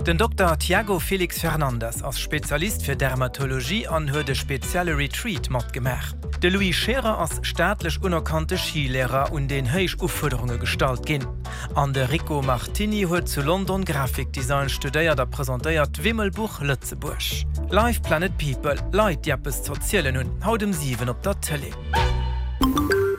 Den Dokter Tiago Felix Fernandes ass Spezialist fir Dermatologie an huet e spezielle Retreat matgemaach. De Louis Scherer ass staatlech unerkannte Skilehrer, un deen héich Ufuerderunge gestallt ginn. An de Rico Martini huet zu London Grafikdesign studéiert a presentéiert d'Wimmelbuch Lëtzebuerg. Live Planet People, Leit déi eppes z'erzielen hunn, haut um 7 op der Tëlee.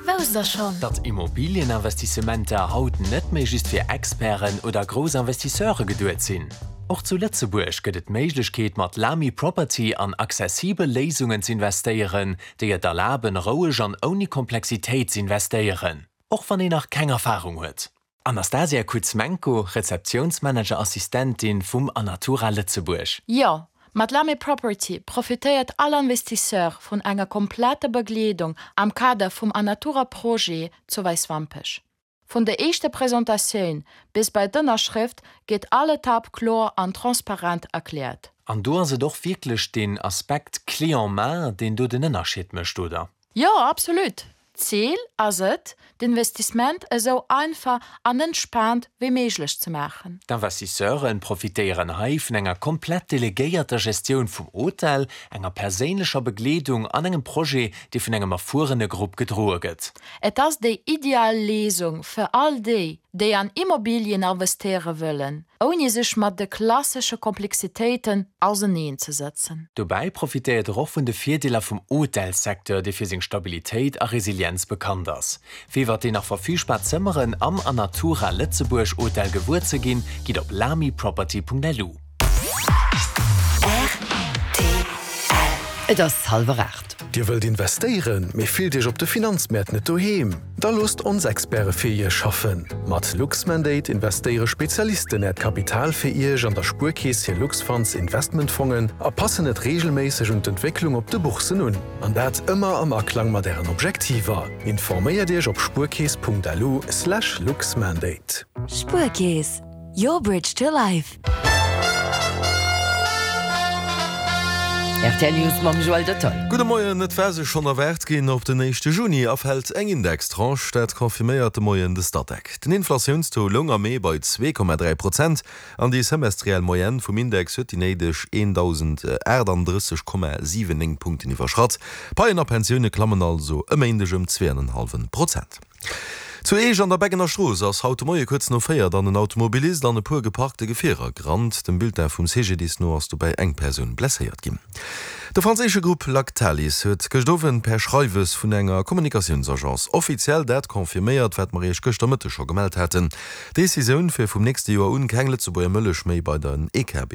Wousst der schonn? Datt Immobilieninvestissementer haut net méi just fir Experten oder grouss Investisseure geduet sinn. Och zu Lëtzebuerg gëtt et d'Méiglechkeet mat Lamy Property an accessibel Léisungen z'investéieren, déi et erlaben roueg an ouni Komplexitéit z'investéieren, och wann een nach keng Erfarung huet. Anastasia Kuzmenko, Rezeptiounsmanager-Assistentin vum Anatura Lëtzebuerg. Jo, mat Lamy Property profitéiert all Investisseur vun enger kompletter Begleedung am Kader vum Anatura Projet zu Wäiswampech. Vun der éischter Presentatioun bis bei d'Ënnerschrëft gétt all Etapp kloer an transparent erkläert. An do ass et och wierklech deen Aspekt clé en main, deen do den Ënnerscheed mécht, oder? Jo, absolut! D'Zil ass et, d'Investissement esou einfach an entspaant wéi méiglech ze maachen. D'Investisseure profitéieren hei vun enger komplett delegéierter Gestioun vum Hotel, enger perséinlecher Begleedung an engem Projet, dee vun engem erfuerene Grupp gedroe gëtt. Et ass déi ideal Léisung fir all déi, déi an Immobilien investéiere wëllen, ouni sech mat de klassesche Komplexitéiten auseneen ze sëtzen. Dobäi profitéiert er och vun de Virdeeler vum Hotelssecteur, dee fir seng Stabilitéit a Resilienz bekannt ass. Fir iwwer déi nach verfügbar Zëmmeren am Anatura Lëtzebuerg Hotel gewuer ze ginn, gitt op lamiproperty.lu. Rtl. Et ass hallwer 8. Dir wëllt investéieren, mee fillt Iech op de Finanzmäert net doheem? Da loosst ons Experte fir Iech schaffen! Mat Luxmandate investéiere Spezialisten Äert Kapital fir Iech an der Spuerkeess hir Luxfunds Investmentfongen a passen et reegelméisseg un d'Entwécklung op de Bourssen un. An dat ëmmer am Aklang mat Ären Objektiver. Informéiert Iech op spuerkeess.lu/luxmandate. Spuerkeess, your bridge to life. Rtl News mam Joël Dotton. Gudde Moien, Et war sech schonn erwaart ginn, op den éischte Juni erfält eng Indextranche. Dat confirméiert de Moien de Statec. Den Inflatiounstaux loung am Mee bei 2,3 Prozent an déi semestriell Moyenne vum Index huet déi néideg 1.038,79 Punkten iwwerschratt. Paien a Pensioune klammen also e Méindeg ëm 2,5 Prozent. Zu Eech an der Beggener Strooss ass haut de Moie kuerz no 4 dann en Automobilist an e puer geparkte Gefierer gerannt. Dem Bulletin vum CGDIS no ass dobäi eng Persoun blesséiert ginn. De franséische Grupp Lactalis huet gëscht Owend per Schreiwes vun enger Kommunikatiounsagence offiziell dat confirméiert, wat mer iech gëschter Mëtteg scho gemellt haten, D'Decisioun, fir vum nächste Joer un keng Lëtzebuerger Mëllech méi bei den EKB.